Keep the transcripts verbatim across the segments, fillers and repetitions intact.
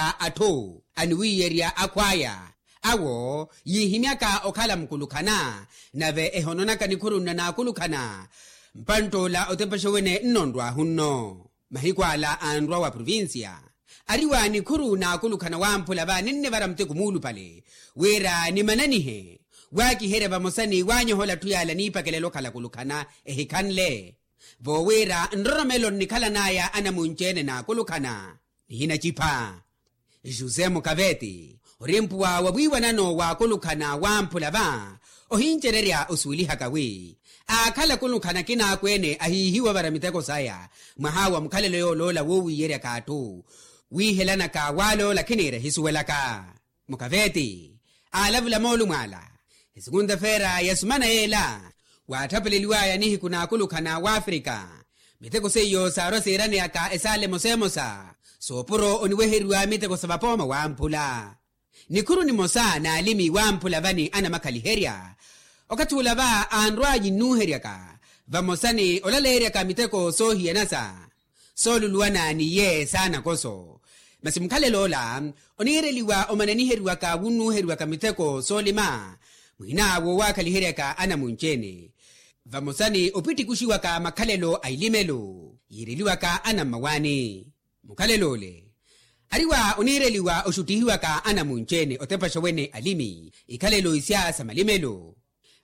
a atthu aniwiiyerya akhw'aya, awo yiihimyaka okhala mukulukhana, nave ehononaka nikhuru nna naakulukhana. Mpantt'ula otepexa wene nnonrw'ahu nno. Mahiku ala anrwa wa provincia, ariwa nikhuru naakulukhana wamphula va ninnivara muteko muulupale, wira nimananihe waakiherya vamosa ni wanyohola atthu yala niipakelela okhala akulukhana ehikhanle. Voowira nroromelo nnikhalan'aya anamunci-ene naakulukhana nihinacipha. José mukaveti, orimpuwa wa wiiwanano waakulukhana wamphula va, ohincererya osuwelihaka wi aakhala akulukhana akina akweene ahiihiwa ovara miteko saya mwaha wa mukhalelo yooloola woowiiyeryaka atthu, wiihelanaka waaloola khiniira ehisuwelaka. Mukaveti aalavula moolumo ala. Esikunta-feera ya sumana yeela, waatthapeleliw'aya nihiku naakulukhana w'afrika, miteko seiyo saarwa siiraneyaka esaala emosa emosa, soopuro oniweheriwa miteko sa vapooma wamphula. Nikhuru nimosa n'alimi wamphula vani anamakhaliherya, okathi ula va anrwa yinnuuheryaka vamosa ni olaleeryaka miteko soohiyana sa sooluluwana n'iye saanakoso. Masi mukhalelo ola oniireliwa omananiheriwaka wunnuuheriwaka miteko soolima muhina woowakhaliheryaka anamunci-ene, vamosa ni opittikuxiwaka makhalelo a ilimelo yiireliwaka anammawaani. Mukhalelo ole ariwa oniireliwa oxuttihiwaka anamunci-ene otepaxa wene alimi ikhalelo isya sa malimelo,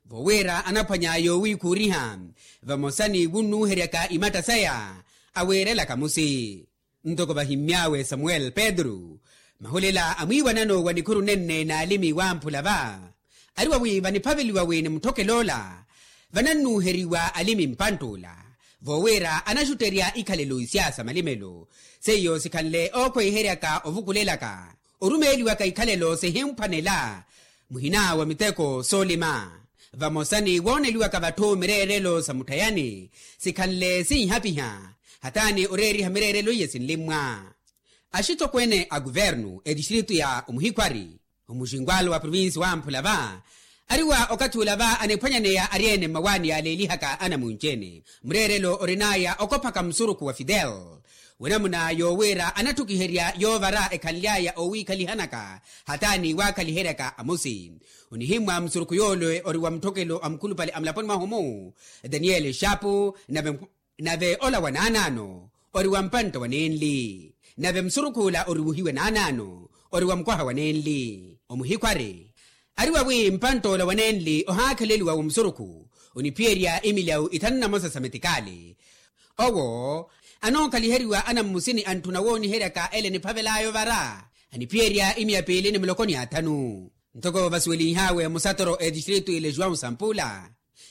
voowira anaphwanya yoowiikhuuriha vamosa ni wunnuuheryaka imatta saya awiirelaka musi. Ntoko vahimmy'awe samuel pedro, mahulela a mwiiwanano wa nikhuru nenne n'alimi wamphula va, ariwa wi vaniphaveliwa wi ni mutthokelo ola vanannuuheriwa alimi mpantt'ula, voowira anaxutterya ikhalelo isya sa malimelo seiyo sikhanle ookhweiheryaka ovukulelaka orumeeliwaka ikhalelo sihimphwanela muhina wa miteko soolima, vamosa ni wooneliwaka vatthu mireerelo sa mutthayani sikhanle sinhapiha hataani oreeriha mireerelo iye sinlimmwa. Axitokweene a kuvernu etistritu ya omuhikhwari omuxinkwalo wa provinsi wamphula va, ariwa okathi ula va aniphwanyaneya ari-ene mmawaani yaaleelihaka anamunci-ene mureerelo orin'aya okophaka musurukhu wa fidel, wenamuna yoowira anatthukiherya yoovara ekhalily'aya oowiikhalihanaka hataani waakhaliheryaka amusi. Onihimmwa musurukhu yoole ori wa mutthokelo a mukhulupale a mulaponi mwahu-mu, daniele xapu, nave ola wa naanaano ori wa mpantta wa nenli, nave musurukhu ola oriwuhiwe naanaano ori wa mukwaha wa nenli. Omuhikhwari ariwa wi mpantt'ola wa nenli ohaakheleliwa wa musurukhu oniphiyerya imilyawu ithanu na mosa sa metikaali. Owo anookaliheriwa anammusini antthuna wooniheryaka ele eniphavel'aya ovara aniphiyerya imiya piili ni muloko ni athanu. Ntoko vasuwelinh'awe musatoro etistritu ile juwau sampula,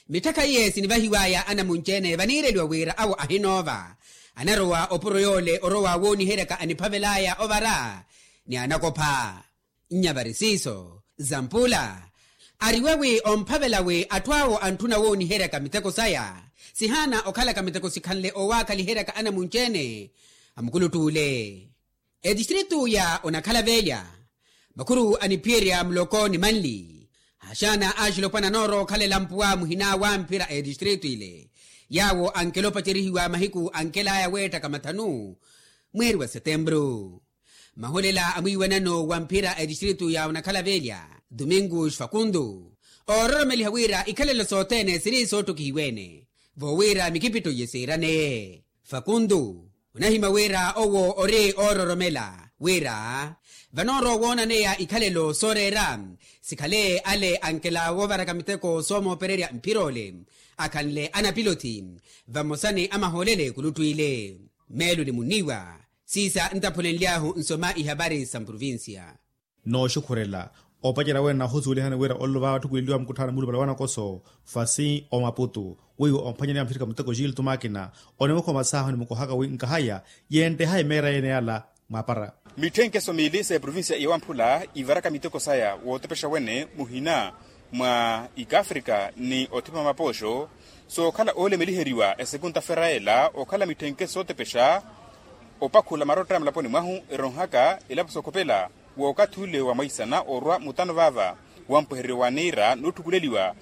mitthakha iye sinivahiw'aya anamunci-ene vaniireliwa wira awo ahinoova anarowa opuro yoole orowa wooniheryaka aniphavel'aya ovara ni anakopha. Nyavari siiso zampula, ariwe wi omphavela wi atthu awo antthuna wooniheryaka miteko saya sihaana okhalaka miteko sikhanle oowaakhaliheryaka anamunci-ene a mukulutt'ule. Etistritu ya onakhala velya makhuru aniphiyerya muloko ni manli, axaana axilopwana anoorowa okhalela mpuwa muhina wa mphira a etistritu ile yaawo ankela opacerihiwa mahiku ankel'aya weettaka mathanu mweeri wa setempuru. Mahulela a mwiiwanano wa mphira a etistritu ya onakhala velya, domingo xfakundo, oororomeliha wira ikhalelo sothene siri soottokihiwe-ene voowira mikipitto iye siiraneye. Fakuntu onahimya wira owo ori oororomela wira vanoorowa woonaneya ikhalelo sooreera sikhale ale ankela woovaraka miteko soomoopererya mphira ole akhanle anapilothi vamosa ni amahoolele ekuluttw'ile. Meelo ni munniiwa siisa ntaphulenly'ahu nsoma ihapari sa mprovincia. Nooxukhurela opacerya wene nahusuwelihani wira olelo vaava atthukuleliwa mukutthaana muulupale wa nakoso fasi omaputu weiwo omphwanyaniya mutthirika muteko gilto makina onimukhomasaahu nimukohaka wi nkahaya yeenteha emeera yene yala mwaapara. Mitthenkheso miili sa eprovincia ya wamphula ivaraka miteko saya wootepexa wene muhina mwa ikafrika ni othima mapooxo sookhala oolemeliheriwa esekunta ferayela okhala mitthenkheso sootepexa opakhula marotta ya mulaponi mwahu eronhaka elapo sookhopela wookathi ule wa mwaisana orwa mutano vaava wampwehereryo wa niira nootthukuleliwa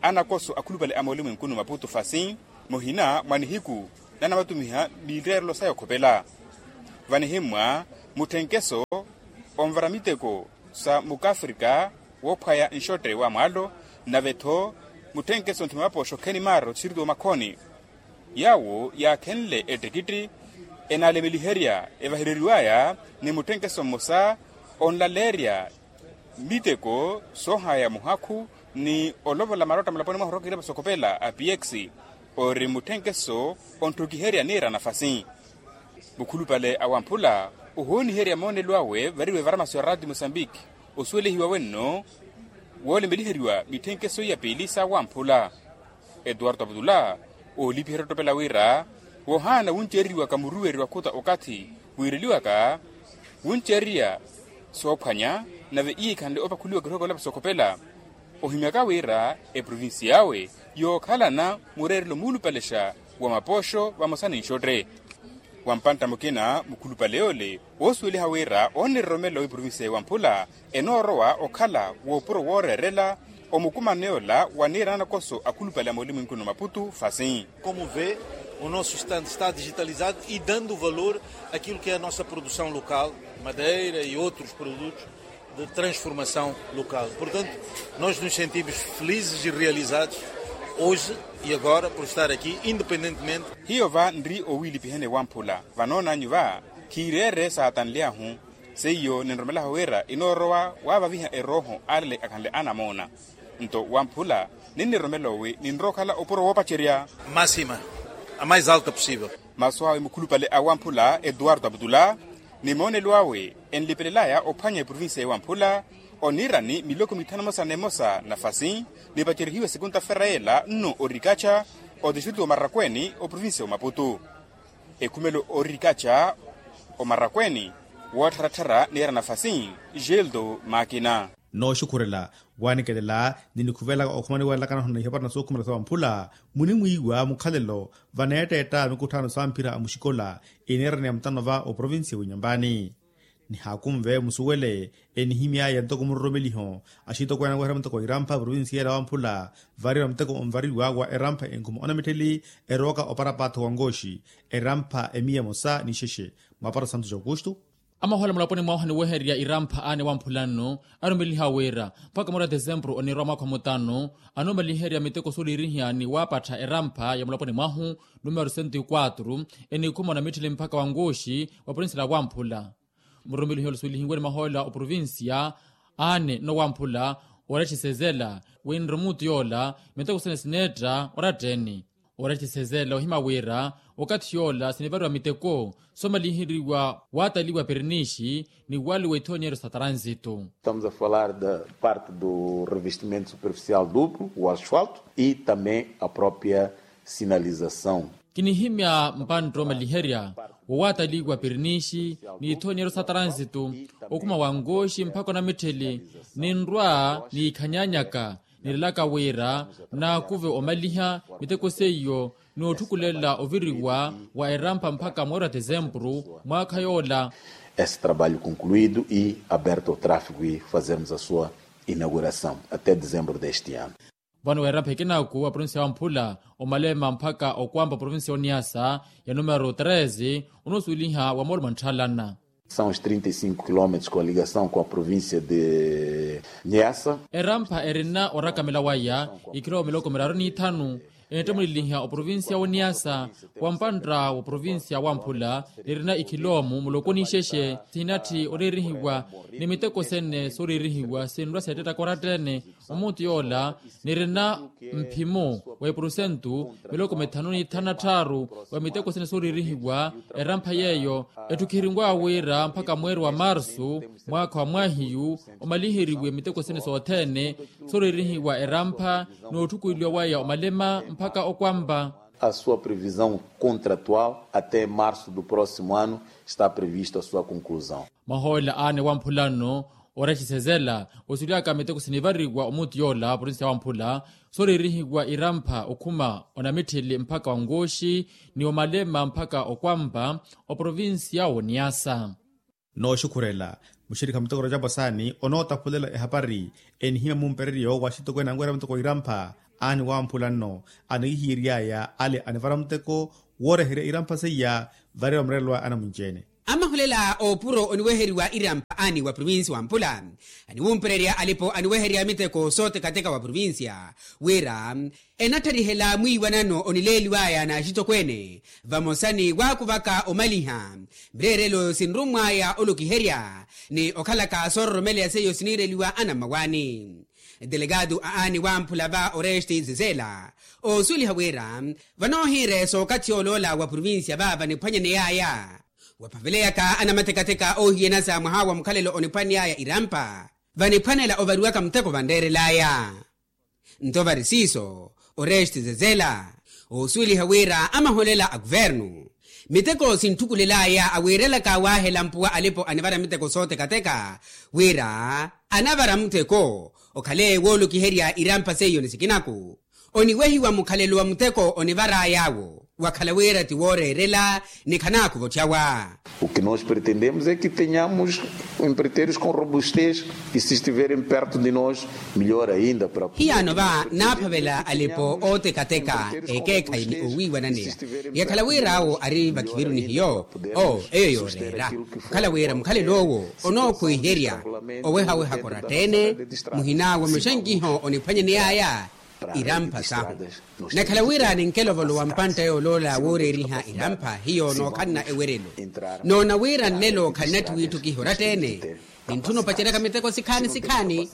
anakoso akhulupale a moolumwenkuni maputu fasi muhina mwa nihiku nanamatumiha miireerelo saya okhopela vanihimmwa mutthenkeso Onvara miteko sa mukafrika woophwaya nxotte wa mwaalo, nave-tho mutthenkeso nthima mapooxo kheni maaro tixiriti wa makhoni. Yaawo yaakhenle ettikitti enaalemeliherya evahereriw'aya ni mutthenkeso mmosa onlaleerya miteko soohaya muhakhu ni olovola marotta mulaponi mwahu orookiherya vasokopela a px, ori mutthenkeso ontthukiherya niira nafasi. Mukhulupale a wamphula ohooniherya moonelo awe variwe evaramaso ya raati mosambiki osuwelihiwa wenno woolemeliheriwa mitthenkeso iya piili sa wamphula. Etuwarto aputula oolipiherya ottopela wira wohaana wunceereriwaka muruweri wa khuta okathi wiireliwaka wunceererya soophwanya nave iikhanle opakhuliwaka erooko olapa sokhopela. Ohimyaka wira eprovincia awe yookhalana mureerelo muulupalexa wa mapooxo vamosa ni nxotte. Wa mpantta mukina mukhulupale yoole woosuweliha wira oonireromela w'iprovincia ya wamphula enoorowa okhala woopuro wooreerela omukumano yoola wa niira nakoso akhulupale a mooli mwinkuni wa maputu fasi. Como vê, o nosso estande está digitalizado e dando valor àquilo que é a nossa produção local, madeira e outros produtos de transformação local. Portanto, nós nos sentimos felizes e realizados hoje e agora por estar aqui, independentemente. Hiyo va nri owiilipihene wamphula vanoonanyu va khiireere saatanly'ahu. Seiyo ninromelaho wira inoorowa waavaviha erooho alale akhanle anamoona. Nto wamphula ninniromela owi ninrowa okhala opuro woopacerya. Máxima, a mais alta possível. Masu awe mukhulupale a wamphula etuwarto aputula ni moonelo awe enlipelelaya ophwanya eprovincia ya wamphula oniirani miloko mithanu emosa n'emosa nafasi nipacerihiwe sekunta fera yeela nno orikaca otixiriti wa marakweeni oprovincia wa maputu. Ekhumelo orikaca omarakweeni woottharattharya niira nafasi. Geldo makina. Nooxukhurela wanikelela ni nikhuvelaka okhuma niweelakana ohona ihapari na sookhumela sa wamphula munimwiiwa mukhalelo vaneetteetta mikutthano samphira a muxikola iniiraniya mutano va oprovincia w'inyambani. Nihaakunve musuwele enihimy'aya ntoko muroromeliho axitokweene aweherya muteko irampha provincia yeela wamphula varira muteko onvariwa wa erampha enkhuma onamittheli erooka oparapaatho wa nkooxi erampha emiya emosa ni ixexe. Mwaapara santos aukustu. Amahola mulaponi mwahu aniwehererya irampha aane wamphula nno arumeliha wira mpakha mwaari wa desempuru oniirwa mwaakha mutano anoomaliherya miteko sooliirihiya ni waapattha erampha ya mulaponi mwahu numero sento ikwatru enikhuma onamittheli mpakha wa nkooxi wa provincia la wamphula. Murumelihi ola suwelihiwe ni mahoola oprovincia aane nno wamphula oretthisezela winre omuutu yoola miteko sene sineetta oratta-ene. Oretthisezela ohima wira okathi yoola sinivariwa miteko soomaliheriwa waataliwa pirinixi ni waaliwa ithoonyeryo sa tranzito. Estamos a falar da parte do revestimento superficial duplo o asfalto e também a própria sinalização. Kinihimya mpantta omaliherya wowaataliwa pirinixi ni ithoonyeryo sa tranzito okhuma wa nkooxi mpakha onamittheli ninrwa niikhanyanyaka nilelaka wira naakuve omaliha miteko seiyo n'otthukulela oviriwa wa erampha mpakha mweeri wa desempuru mwaakha yoola. Esse trabalho concluído e aberto ao tráfego e fazermos a sua inauguração até dezembro deste ano. Vano weerampha ekinaaku wa provincia ya wamphula omalema mpakha okwampa provincia ya oniasa ya numero treze onoosuweliha wa moolumo ntthalana. São os trinta e cinco quilómetros com a ligação com a província de niasa. Erampha erina orakamela waya ikhiloomu miloko miraru n'ithanu enettemuleliha oprovincia woniasa wa mpantta wa provincia wamphula nirina ikhiloomu muloko n'ixexe sihinatthi oreerihiwa ni miteko sene sooriirihiwa sinrwa seettettaka oratta-ene. Omuutu yoola nirina mphimo wa epurusentu miloko mithanu n'ithanu na tthaaru wa miteko sene sooriirihiwa erampha yeeyo etthukiheriw'awe wira mpakha mweeri wa marsu mwaakha wa mwaahiyu omaliheriwe miteko sene sothene sooriirihiwa erampha n'otthukuliwa waya omalema mpakha okwampa. A sua previsão contratual até março do próximo ano está previsto a sua conclusão. Mahoola aane wamphula nno oretthisezela osulyaka miteko sinivariwa omuutu yoola provincia wamphula sooriirihiwa irampha okhuma onamitthili mpakha wa nkooxi ni omalema mpakha okwampa oprovincia woniasa. Nooxukhurela muxirikha muteko rajapu asaani onootaphulela ehapari enihimya mumpereryo wa axitokweene anwerya muteko irampha aani wamphula nno anikihiyery'aya ale anivara muteko wooreherya irampha seiya varira murelwa anamunci-ene. Amaholela oopuro oniweheriwa irampha ani wa provincia wa mpula, aniwumpererya alipo aniweherya miteko sootekateka wa provincia wira enattarihela mwiiwanano onileeliwaya n'axitokweene vamosa ni waakuvaka omaliha mireerelo sinrummwaya olokiherya ni okhalaka soororomeleya seiyo siniireliwa anammawaani. Delegado a ani wamphula va oreste zezela oosuweliha wira vanoohiire sookathi oloola wa provincia va vaniphwanyaneyaya waphaveleyaka anamatekateka oohiyanasa mwaha wa mukhalelo oniphwaneyaya irampa vaniphwanela ovariwaka muteko vanreerelaya. Nto vari siiso oreste zezela oosuweliha wira amaholela a kuvernu miteko sinthukulelaya awiirelaka waahela mpuwa alipo anivara miteko sootekateka wira anavara muteko okhale woolokiherya irampa seiyo ni sikinaku oniwehiwa mukhalelo wa muteko onivaray'awo wakhala wira ti wooreerela ni khanaakuva otthawa. O que nós pretendemos é que tenhamos empreiteiros com robustez e se estiverem perto de nós melhor ainda para hiyaano va naaphavela alipo ootekateka ekeekhayi ni owiiwananeya yakhala wir'awo ari vakhiviru ni hiyo oo eyo yooreera okhala wira mukhalelo owo onookhwiherya owehaweha koratteene muhina wa mexankiho oniphwanyaneyaya irampha sahu nakhala wira ninkelovolowa mpantta yooloola wooreeriha irampha hiyo nookhanna ewerelo noona wira nlelo khannatthiwa itthukiha oratteene nintthuna opaceryaka miteko sikhaani sikhaani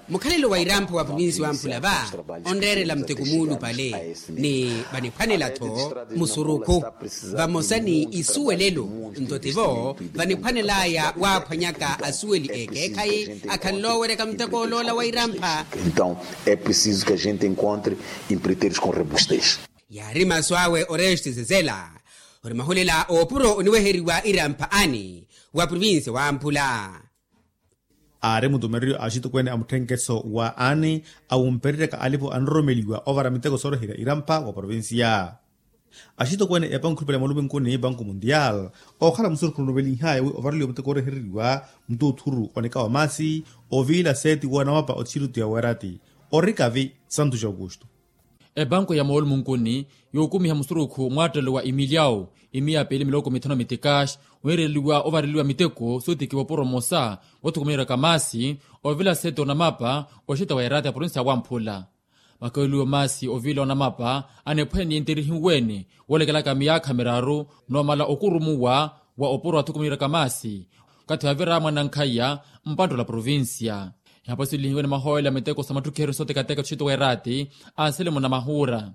mukhalelo wa irampha wa provinsi wamphula va onreerela muteko muulupale ni vaniphwanela-tho musurukhu vamosa ni isuwelelo nto tivo vaniphwanelaya waaphwanyaka asuweli ekeekhayi akhanle oweryaka muteko oloola wa irampha. Então é preciso que a gente encontre empreiteiros com robustez. Yaari masu awe oreste zezela ori mahulela oopuro oniweheriwa irampha ani wa provinsi wamphula. Aari mutumereyo axitokweene a mutthenkeso wa ani awumpereryaka alipo anroromeliwa ovara miteko sooroherya irampha wa provincia. Axitokweene epanku ekhulupale ya malupinkuni banku mundial ookhala musurukhu onovelinhaya wi ovareliwa muteko oorehereriwa mututthuru onika wa maasi oviila seeti woonamapa othisirutu ya weerati orikavi santu ja aukustu. Epanku ya moolumunkuni yookumiha musurukhu mwaattelo wa imiliyawu imiya piili miloko mithanu mitikaxi wiireliwa ovareliwa miteko sootikiwa opuro mmosa woothukumiheryaka maasi ovila sete onamapa oxita wa erata ya provinsi ya wamphula makaweliwa maasi ovila onamapa aniphwene ni enterihiwene woolekelaka miyaakha miraru noomala okurumuwa wa opuro athukumiheryaka maasi okathi wavira mwanankhaya mpanttola provinsiya. Ihapo silihiwe ni mahooyela miteko sa mattukheryo sootekateka ttuxitu weeraati anselemuna mahuura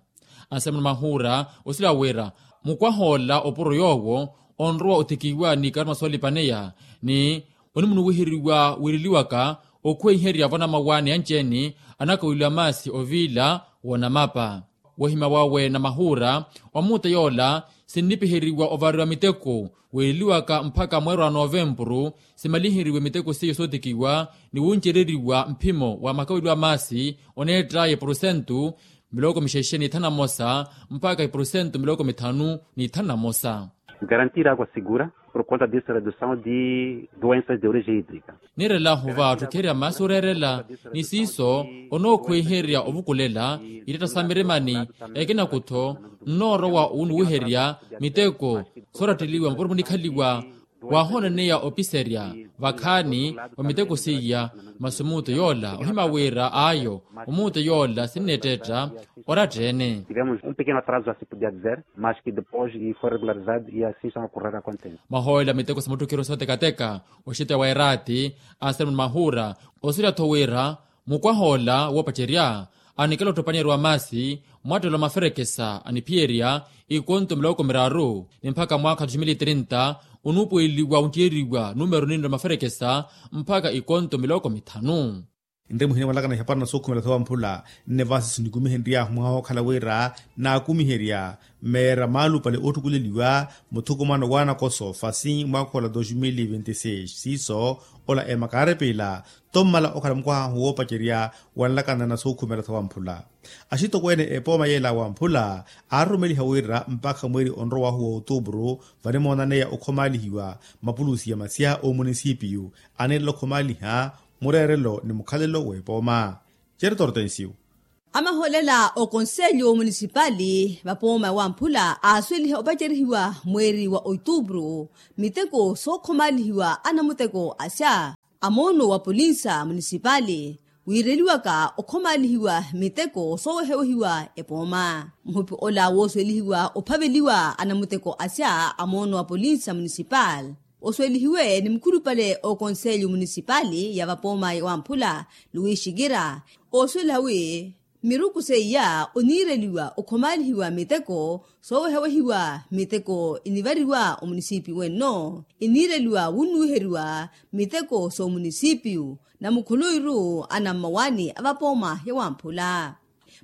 anselemuna mahuura osila wira mukwahoola opuro yoowo onrowa otikiwa ni karuma soolipaneya ni onimunuwiheriwa wiireliwaka okhweiherya vonamawaani anci-ene anakaweliwa maasi oviila woonamapa. Wohimya wawe na mahuura omuuta yoola sinnipiheriwa ovariwa miteko wiileliwaka mpakha mweero wa novempuru simaliheriwe miteko seiyo sootikiwa ni wuncereriwa mphimo wa makaweliwa maasi oneett'aya epurusentu miloko mixexe n'ithanu na mmosa mpakha epurusentu miloko mithanu n'ithanu na mmosa. Garantir água segura por conta disso redução de doenças de origem hídrica. Niirela ohuva otthukerya maasi oreerela ni siiso onookhweiherya ovukulela ittatta sa mirimani ekinakutho nnoorowa onuwiherya miteko sooratteliwa mapurupuni khaliwa waahoonaneya opiserya vakhaani wa miteko seiya. Masi omuuto yoola ohima wira ayo omuuto yoola sinneetteetta oratta-ene. Tivemos um pequeno atraso já se podia dizer mas que depois foi regularizado e assim estão a correr a contente. Mahooyela miteko sa mattukheryo sootekateka oxita wa eraati anselemuni mahuura osulya-tho wira mukwahoola woopacerya anikela ottopanyeru wa maasi mwattelo wa maferekesa aniphiyerya ikonto miloko miraru ni mpakha mwaakha wa dois mil e trinta onuupuweliwa onttiyeriwa numero ninno maferekesa mpakha ikonto miloko mithanu. Nri muhina mwalakana ihapara na sookhumela tho wamphula nne vaasi sinikumihenry'ahu mwaha wookhala wira naakumiherya meera maalupale oottukuleliwa muthukumano w'anakoso fasi mwaakha ola dois mil e vinte e seis siiso ola emakaarepila tommala okhala mukwaha ahu woopacerya wanlakana na sookhumela tho wamphula. Axitokweene epooma yeela wamphula aaroromeliha wira mpakha mweeri onrowahu wa otuupuru vanimoonaneya okhomaalihiwa mapulusi ya masya oomunisipiyu aneelela okhomaaliha mureerelo ni mukhalelo w'epooma. Certo hortensio. Amahoolela okonselyo munisipali vapooma wamphula aasweliha opacerihiwa mweeri wa otuupuru miteko sookhomalihiwa anamuteko asya. Amoono wa polinsa munisipali wiireliwaka okhomalihiwa miteko soowehewehiwa epooma muhupi ola wooswelihiwa ophaveliwa anamuteko asya amoono wa polinsa munisipali oswelihiwe ni mukhulupale okonselyo munisipali ya vapooma wamphula luwixikira ooswela wi miruku seiya oniireliwa okhomalihiwa miteko soowehawehiwa miteko inivariwa omunisipi wenno iniireliwa wunnuwiheriwa miteko soomunisipiyu na mukhuluwiru anammawaani a vapooma ya wamphula.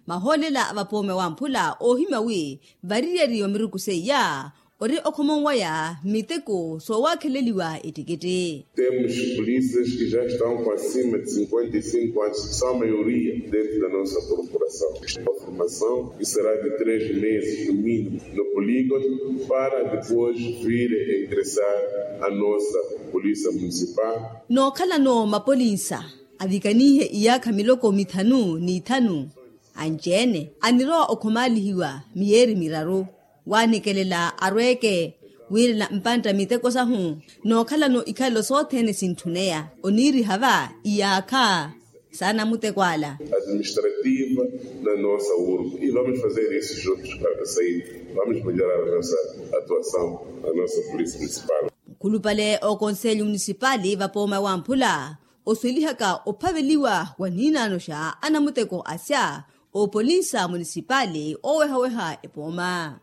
Mahoolela a vapooma wamphula oohimya wi variyari wa miruku seiya ori okhomonwaya miteko soowakheleliwa ettikitti. Temos polícias que já estão com acima de cinquenta e cinco anos que são a maioria dentro da nossa corporação. A formação que será de três meses no mínimo no polígono para depois vir a ingressar a nossa polícia municipal. Nookhalano mapolinsa avikanihe iyaakha miloko mithanu n'ithanu anci-ene anirowa okhomalihiwa miyeeri miraru waanikelela arweeke wiirela mpantta miteko sahu nookhalano ikhalelo sothene sintthuneya oniiriha va iyaakha saana muteko ala. Administrativa na nossa urgo e vamos fazer isso juntos para sair vamos melhorar a nossa atuação a nossa polícia municipal. Mukhulupale okonselyo munisipali vapooma wamphula oswelihaka ophaveliwa wa niinaanoxa anamuteko asya oopolinsa munisipali oowehaweha epooma.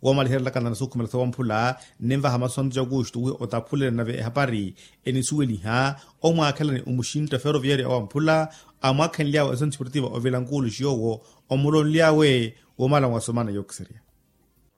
Woomaliherelaka na nasukhumela sowamphula ninvaha masu antu ja aukustu wi otaphulele nave ehapari enisuweliha omwaakhelani omuxintta feroviyaria owamphula amwaakhenly'awe esonti sportiva ovilankuuluxi yoowo omulonly'awe woomala mwasomana yookiserya.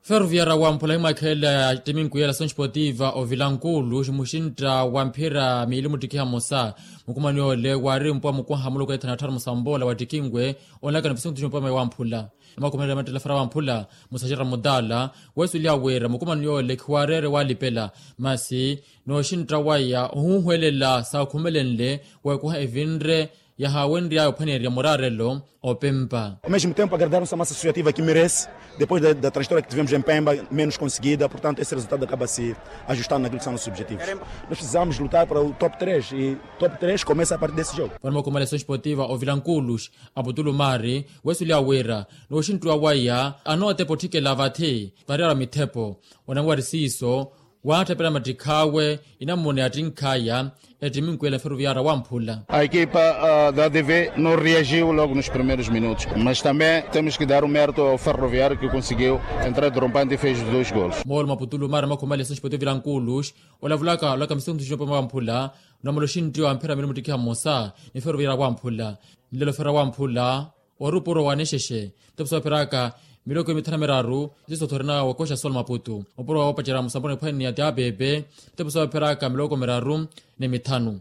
Feroviyaria wamphula himwaakhelela timinkuya la esonti sportiva ovilankuuluxi muxintta wa mphira miili muttikiha mmosa mukumani ole waari mpuwa mukwaha muluku ethana athara musamboola wattikinwe onlaka ni visinkutu jumpa mai wamphula. Namakumanela mattela fara wamphula musaxera mutala weesuliha wira mukumani yoole khiwareere walipela masi nooxintta waya ohuuhwelela saakhumelenle weekuha evinre yahaawenry'aya ophwaneerya muraarelo opempa. Ao mesmo tempo agradar nossa massa associativa que merece depois da trajetória que tivemos em pemba menos conseguida portanto esse resultado acaba se ajustando naquilo que são nossos objetivos. Nós precisamos lutar para o top três e top três começa a partir desse jogo. Vano makumanela esonti sportiva ovilankuuluxi aputulu maari weesuliha wira nooxinttuwa waya anootepa otthikela vathi variyara mithepo onamwari siiso waatthapela mattikh'awe inammuna yattinkh'aya ettiminkuya la feroviyaria wamphula. A equipa da adv no reagiu logo nos primeiros minutos mas também temos que dar o mérito ao ferroviario que conseguiu entrar drompante e fez os dois golos. Moolo maputulu maari makhumale esonti sportiva ovilankuuluxi olavulaka olaka misinkutu jumpa mai wamphula onamala oxinttiwa mphira miili muttikiha mmosa ni feroviyaria wamphula nlelo feroviyaria wamphula. Ori opuro wa nixexe mitepo soopheraka miloko mithanu na miraru. Siso thorina wakoxa sol maputu opuro woopacerya musambula niphwani ni ya tiapepe mitepo soopheraka miloko miraru ni mithanu.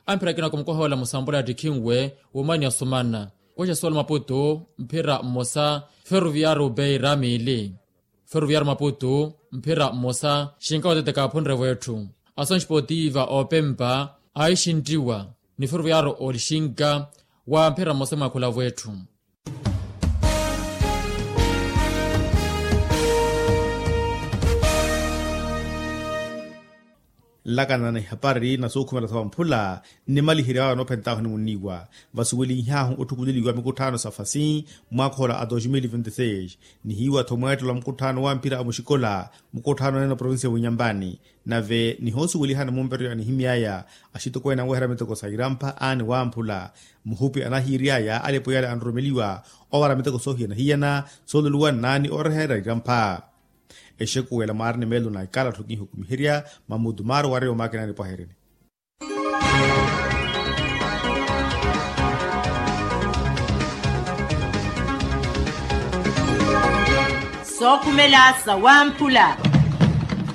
Amphira akinako mukoha wela musambula yattikhinwe womani yasomana koxa sol maputu mphira mmosa feroviyaru beira miili. Feroviyaru maputu mphira mmosa xinka wateteka aphunre wetthu. Ason sportiva opempa aixintiwa ni feroviyaru olixinka wa mphira mmosa mwakhula wetthu. Nlakana na ihapari na sookhumela sa wamphula nnimaliherya awe anoophentahu nimunniiwa vasuweliihaahu otthukuleliwa mikutthano sa fasi mwaakhola a dos mil vinti seis. Nihiiwa-tho mweettelo a mukutthano wa mphira a muxikola mukutthano neene oprovincia w'inyampani nave nihoosuwelihana mumperyo anihimy'aya axitokweene anweherya miteko sa irampha aani wamphula. Muhupi anahiiry'aya alipo yale anroromeliwa owara miteko soohiyana-hiyana soololuwa nnaani ooreherya irampha. Exekuwela mwaari ni meelo na ikalattho kinhukumiherya mamutu maari owareya omaakinani pwaherini. Sookhumela sa wamphula.